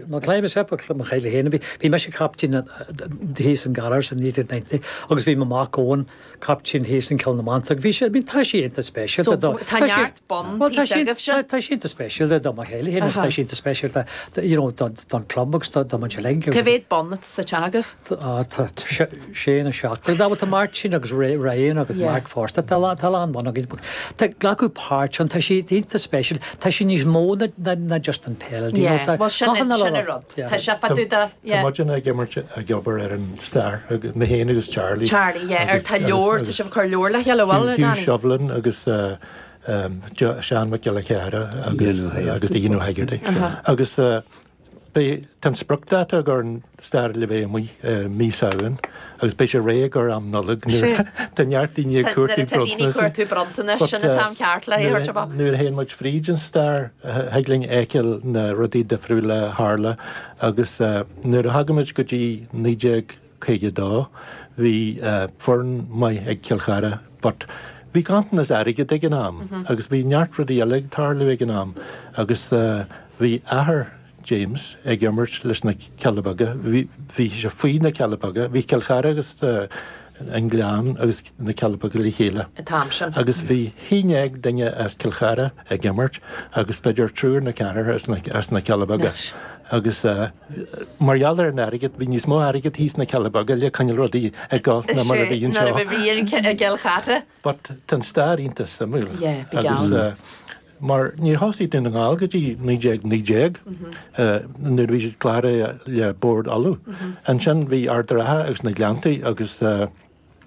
Mo chlaim is ea mo chéile féin. Bhí mise captaen thíos in Gallar's in 1990 agus bhí mo mhac Eoin captaen thíos in Cill na Martra. Bhí sé, I mean, tá sé iontach speisialta do. So tá neart bonn thíos agaibhse? Tá sé iontach speisialta do mo chéile féin agus tá sé iontach speisialta you know don club agus do muid uilig. Cá mhéad bonn atá sa teach agaibh? Tá sé nó seacht. Tá Martin agus Ryan agus Mark fosta. Tá a lán bonn againn. Tá glacadh páirt ann, tá sé iontach speisialta, tá sé níos mó ná just an peil. Do you know, tá Bhuel sin sin an rud. Tá sé fá dtaobh de, yeah. Tá muidne ag imirt ag obair ar an stair, mé féin agus Charlie. Charlie, yeah, ar tá leabhar, tá sibh ag cur leabhar le chéile, bhfuil, Hugh Danny? Shovlin agus Seán Mac Giolla Chearra agus agus Ian O'Hegarty. Agus Beidh, tá an spriocdháta ag an stair le bheith amuigh i mí Samhain agus beidh sé réidh ag am Nollag nuair tá neart daoine ag cuartú Nuair atá daoine ag cuartú bronntanais, sin an t-am ceart le é a thabhairt amach. Nuair a théann muid fríd an stair, thig linn fheiceáil na rudaí difriúla a tharla agus nuair a thagann muid go dtí 1952 bhí foireann maith ag Cill Chartha but bhí ganntanas airgid ag an am agus bhí neart rudaí eile ag tarlú ag an am agus Bhí athair James ag imirt leis na Cealla Beaga, bhí sé faoi na Cealla Beaga, bhí Cill Chartha agus an Gleann agus na Cealla Beaga le chéile. An t-am sin. Agus bhí 11 duine as Cill Chartha ag imirt agus b'fhéidir triúr nó ceathrar as na Cealla Beaga. Agus mar gheall ar an airgead, bhí níos mó airgead thíos sna Cealla Beaga le coinneáil rudaí ag dul ná mar a bhí anseo. Nuair a bhí i gCill Chartha. But tá an stair iontach suimiúil. Yeah, big agus mar níor thosaigh Dún na nGall go dtí 1919 nuair a bhí siad cláraithe le Bord Uladh. Ansin bhí Ard an Rátha agus na Gleanntaí agus an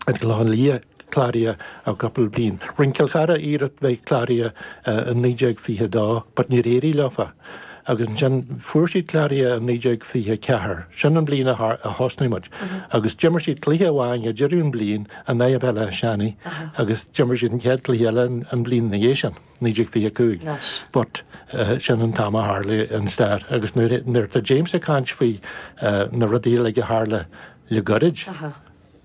Clochán Liath cláraithe ó cúpla bliain. Rinne Cill Chartha iarracht bheith cláraithe in 1922 but níor éirigh leofa. Agus ansin fuair siad cláraithe in 1924. Sin an bhliain a thosnaigh muid. Agus d'imir siad cluiche amháin ag deireadh an bhliain in aghaidh Béal Átha Seanaidh agus d'imir siad an chéad cluiche eile an bhliain ina dhiaidh sin, 1925. But sin an t-am a tharla an stair agus nuair atá James ag caint faoi na rudaí uilig a tharla le goirid,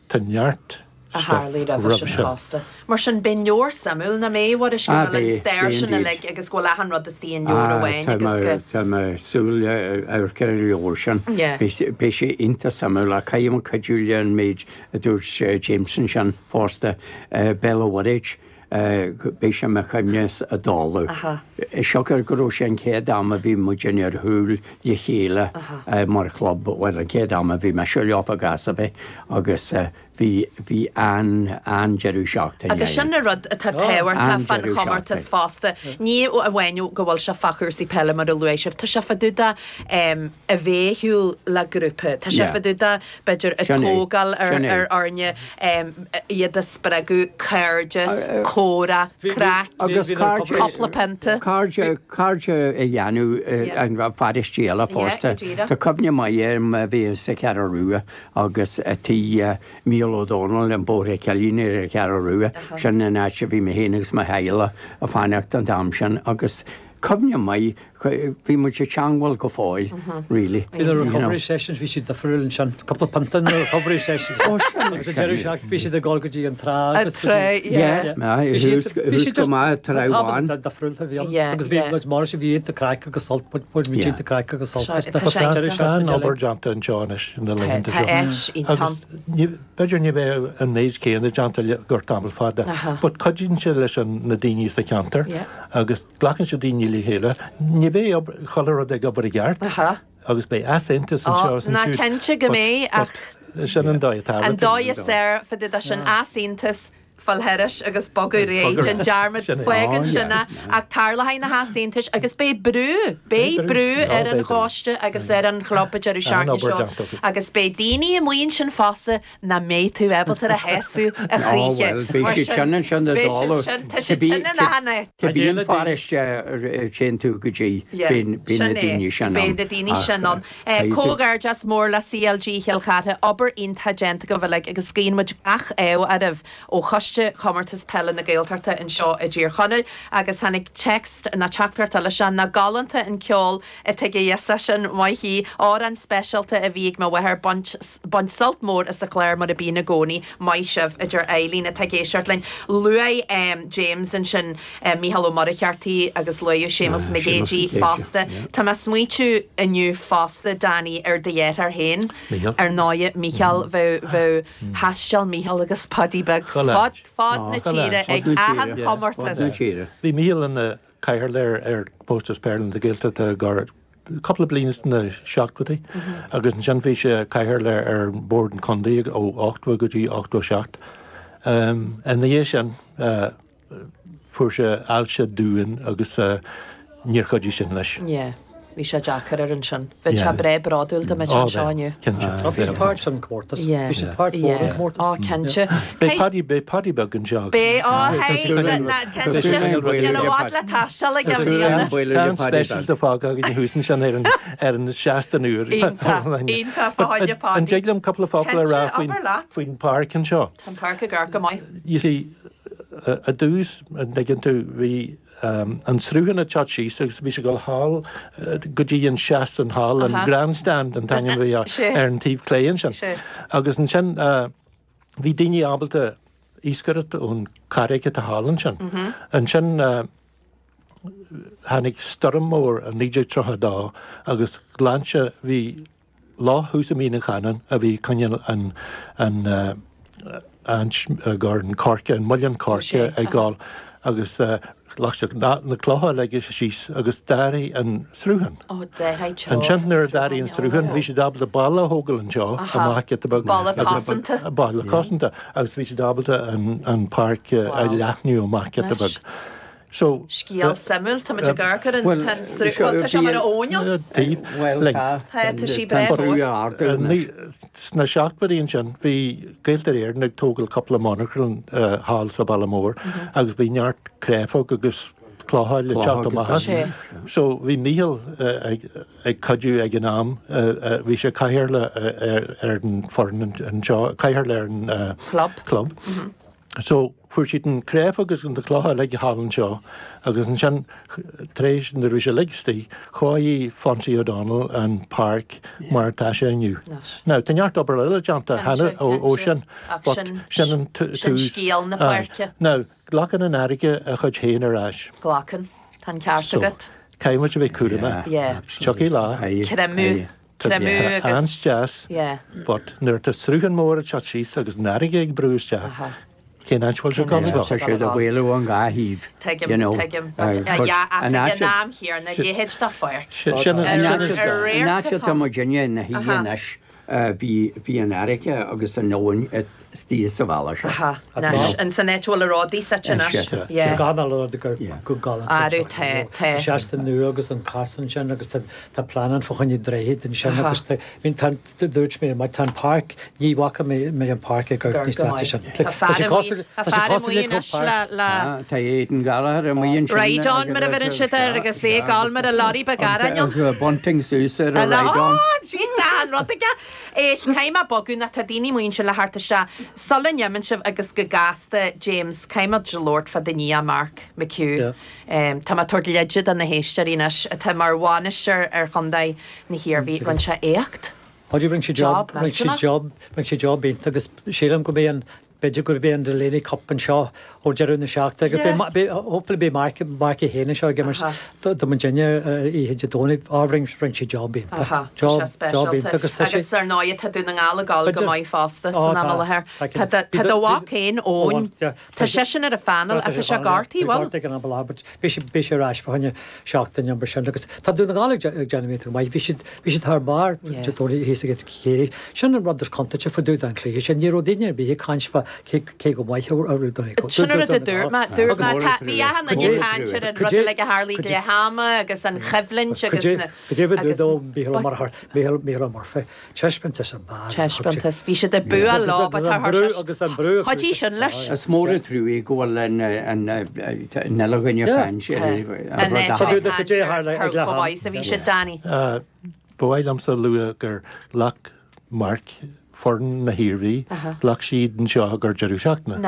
tá neart a tharlaigh roimhe sin fosta. Mar sin, beidh leabhar suimiúil, nach mbeidh, a Mhuiris, go bhfuil an stair sin uilig agus go bhfuil achan rud istigh i leabhar amháin agus go. Tá mé ag súil le amharc ar an leabhar sin. Beidh sé iontach suimiúil ach caithfidh mé cuidiú le an méid a dúirt James ansin fosta, Béal an Mhuirthead, beidh sé i mo chuimhne i dtólamh. Siocair go raibh sé an chéad am a bhí muidinne ar shiúl le chéile mar chlub, bhuel an chéad am a bhí mise leofa i gcás ar bith agus bhí, bhí an, an-deireadh seachtaine Agus sin an rud atá tábhachtach fán chomórtas fosta, ní amháin go bhfuil sé fá chúrsaí peile mar a luaigh sibh, tá sé fá dtaobh de a bheith ar shiúl le grúpa, tá sé fá dtaobh de b'fhéidir, ag tógáil ar fhoirne, iad a spreagadh, cairdeas, comhrá, craic, cúpla pionta. Cairde, cairde a dhéanamh i bparóistí eile fosta. Tá cuimhne maith agam a bhí sa Cheathrú Rua agus tigh Mícheál Ó Dónaill i mBóthar an Chillín ar an Cheathrú Rua, sin an áit a bhí mé féin agus mo theaghlach ag fanacht an t-am sin agus cuimhne maith, bhí muid ag teangmháil go fóill, really. Bhí na recovery sessions, bhí siad difriúil ansin, cúpla pionta na recovery sessions. Ó sin, Agus an deireadh seachtaine bhí siad ag dul go dtí an trá agus go dtí. Yeah, bhí siad go maith trá amháin. Difriúil a bhí ann. Agus bhí muid mar sin, bhí iontach craic agus sult, bhí muid iontach craic agus sult. Tá an-obair déanta anseo anois na laethanta seo. Tá áit iontach ann. B'fhéidir ní bheadh an méid céanna déanta le gur tamall fada, but cuidíonn sé leis na daoine sa cheantar agus Glacann siad daoine le chéile. Ní bheidh chuile rud ag obair i gceart agus beidh easaontas anseo is ansiúd. Ná cinnte go mbeidh ach sin an dóigh atá. An dóigh is fearr fá dtaobh de sin easaontas, fáil thairis agus bogadh ar aghaidh, déan dearmad, fágann sin é ach tarlóidh na heasaontais agus beidh brú, beidh brú ar an choiste agus ar an chlub an deireadh seachtaine seo agus beidh daoine amuigh ansin fosta nach mbeidh tú ábalta a shásamh a choíche. Ó bhuel, beidh siad sin ansin i dtólamh. Tá siad sin in achan áit. Cibé an pharóiste a dtéann tú go dtí, beidh na daoine sin ann. Beidh na daoine sin ann. Comhghairdeas mór le CLG Chill Chartha, obair iontach déanta agaibh uilig agus guíonn muid gach ádh oraibh ó Choiste. Choiste Chomórtas Peile na Gaeltachta anseo i dTír Chonaill agus tháinig text ná teachtaireacht eile seo, Nach galánta an ceol atá ag Íosa sin maith í. Amhrán speisialta a bhí ag mo mháthair, baint baint sult mór as an chlár mar a bíonn i gcónaí. Maith sibh, a deir Eileen atá ag éisteacht linn. Luaigh James ansin Mícheál Ó Muircheartaigh agus luaigh Séamus Mac Géidigh fosta. Tá mé ag smaoitiú inniu fosta, Danny, ar do dheartháir féin, ar ndóigh, Mícheál, bheadh, bheadh, thaisteal Mícheál agus Paidí Beag fud fad na tíre ag achan chomórtas. Bhí Mícheál ina chathaoirleach ar Chomórtas Peile na Gaeltachta gar cúpla bliain sna seachtóidí agus ansin bhí sé cathaoirleach ar Bhord an Chontae ó 80 go dtí 87. Ina dhiaidh sin Fuair sé ailse domhain agus níor chuidigh sin leis. Yeah. Bhí sé deacair air ansin. Bheadh sé breá bródúil dá mbeadh sé anseo inniu. Cinnte. Ó, bhí sé páirt san comórtas. Yeah. Bhí sé páirt mhór an comórtas. Ó, cinnte. Beidh Paddy, beidh Paddy beag anseo. Beidh, ó, hey, cinnte. Níl i bhfad le taisteal aige i mbliana. Tá an speisialta fágtha againn thuas ansin ar an, ar an seastán úr. Iontach, iontach, fá choinne Paddy. An dtig liom cúpla focal a rá faoin, faoin páirc anseo? Tá an páirc ag amharc go maith. You see, i dtús, an dtuigeann tú, bhí an sruthán ag teacht síos agus bhí sé ag dul thall go dtí an seastán thall, an grandstand an t-ainm a bhí ar an taobh clé ansin. Agus ansin bhí daoine ábalta iascaireacht ón charraig atá thall ansin. Ansin tháinig stoirm mór i 1932 agus ghlan sé, bhí Loch thuas i Mín an Chanáin a bhí ag coinneáil an an gur an coirce, an muileann coirce ag gabháil agus ghlac sé na clocha uilig síos agus d'athraigh an sruthán. Ansin nuair a d'athraigh an sruthán bhí siad ábalta balla a thógáil anseo amach giota beag. Balla cosanta. Balla cosanta agus bhí siad ábalta an páirc a leathnú amach giota beag. So. Scéal suimiúil, tá muid ag amharc ar an tá an sruth, bhuel tá sé mar a fhóinneog. Bhuel tá, tá tá sí breá mhór. Sna seachtóidí ansin bhí Gaeltarra Éireann ag tógáil cúpla monarchan thall sa Bhaile Mór agus bhí neart créafóg agus clocha le teacht amach as. So bhí Mícheál ag cuidiú ag an am, bhí sé cathaoirleach ar an foireann anseo, cathaoirleach ar an club. So, fuair siad an créafóg agus na clocha uilig thall anseo agus ansin tar éis, nuair a bhí sé uilig istigh, chóirigh Fonsie O'Donnell an páirc mar atá sé inniu. Now, tá neart obair eile déanta cheana ó sin, but sin an tús. Sin scéal na páirce. Now, glacann an fharraige a chuid féin ar ais. Glacann. Tá an ceart agat. So, caithfidh muid a bheith cúramach. Tiocfaidh lá. Creimeadh. Creimeadh agus. An-deas. Yeah. But nuair atá sruthán mór ag teacht síos agus an fharraige ag brú isteach, cén áit a bhfuil sé ag dul a Tá siad ag maolú ón dhá thaobh. Tuigim, you know. Tuigim. But yeah, ach ag an am chéanna, a leithéid de pháirc. Sin an An áit atá muidinne ina shuí anois, bhí an fharraige agus an abhainn istigh sa bhalla seo. Aha, anois, in san áit a bhfuil na rudaí suite anois. Yeah. Tá gach uile rud go galánta. Arú, tá, tá. An seastán nua agus an casán sin agus tá Tá plean ann fá choinne droichead ansin agus tá, I mean tá, dúirt mé, má tá an páirc, ní bhfaca mé mé an páirc ag amharc níos deasa sin. Tá fear amuigh, tá fear amuigh anois le, le. Tá Aidan Gallagher amuigh ansin. Ride on mar a bheireann siad air agus é ag gabháil mar a lorry beag aráin. Agus bunting suas ar a ride on. Gee, tá an rud aige. Éist, caithfidh mé bogadh nó tá daoine amuigh ansin le theacht isteach. Sula n-imíonn sibh agus go gasta, James, caithfidh muid labhairt fá do nia Mark McHugh. Tá mé ag tabhairt leide do na héisteoirí anois atá mar bhainisteoir ar chontae na hIarmhí. Rinne sé éacht. Ó rinne sé job, rinne sé job, rinne sé job iontach agus sílim go mbeidh an, b'fhéidir go mbeidh an Delaney Cup anseo ó deireadh na seachtaine agus beidh, beidh, hopefully beidh Mark, Mark é féin anseo ag imirt do muidinne oíche Dé Domhnaigh. Á, rinne, rinne sé job iontach. Tá Job, sé job iontach speisialta. agus tá sé. Agus ar ndóigh tá Dún na nGall ag gabháil go maith fosta san am i láthair. Tá, Tá do, tá do mhac féin, Eoin, Tá seisean ar an phainéal ach tá sé gortaithe, bhfuil? Gortaithe ag an am i láthair, but beidh sé, beidh sé ar ais fá choinne seachtain nó mar sin agus tá Dún na nGall ag déanamh iontach maith. Bhí siad, bhí siad thar barr Dé Domhnaigh thíos ag Ciarraí. Sin an rud is contúirte fá dtaobh den chluiche sin. Ní raibh duine ar bith ag caint fá cé, cé go maith a raibh Dún na Sin an rud a dúirt mé, dúirt mé, tá, bhí achan duine ag caint ar an rud uilig a tharlaigh ag leath ama agus an choimhlint agus na, Cad é a agus, dúirt Mícheál Ó Murchú, Mícheál, Mícheál Ó Murphy. Taispeántas ab ea. Taispeántas. Bhí siad ag bua leo but tá agus an brú Chuidigh sin leis. Is mór an trua go bhfuil an uile dhuine ag caint ar an rud a tharla. Ar chomh maith is a bhí siad, Danny. Ba mhaith liomsa a lua gur ghlac Mark foireann na hIarmhí, ghlac siad anseo ag an deireadh seachtaine.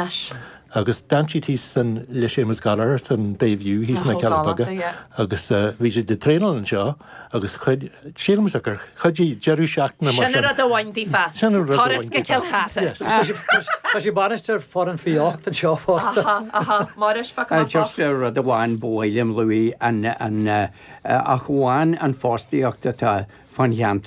Agus d'fhan siad thíos san le Séamus Gallagher san Bay View thíos sna Cealla Beaga agus bhí siad ag traenáil anseo agus chuid, sílimse gur chuidigh deireadh seachtaine mar sin. Sin an rud a bhain daofa. Sin an rud a Turas bhain go daofa. Cill Chartha. Yes. Tá sé bainisteoir foireann faoi 8 anseo fosta. Aha, aha. Muiris, fágfaidh mé Just rud amháin ba mhaith liom luaigh an, an, ach amháin an fostaíocht atá fán cheantar.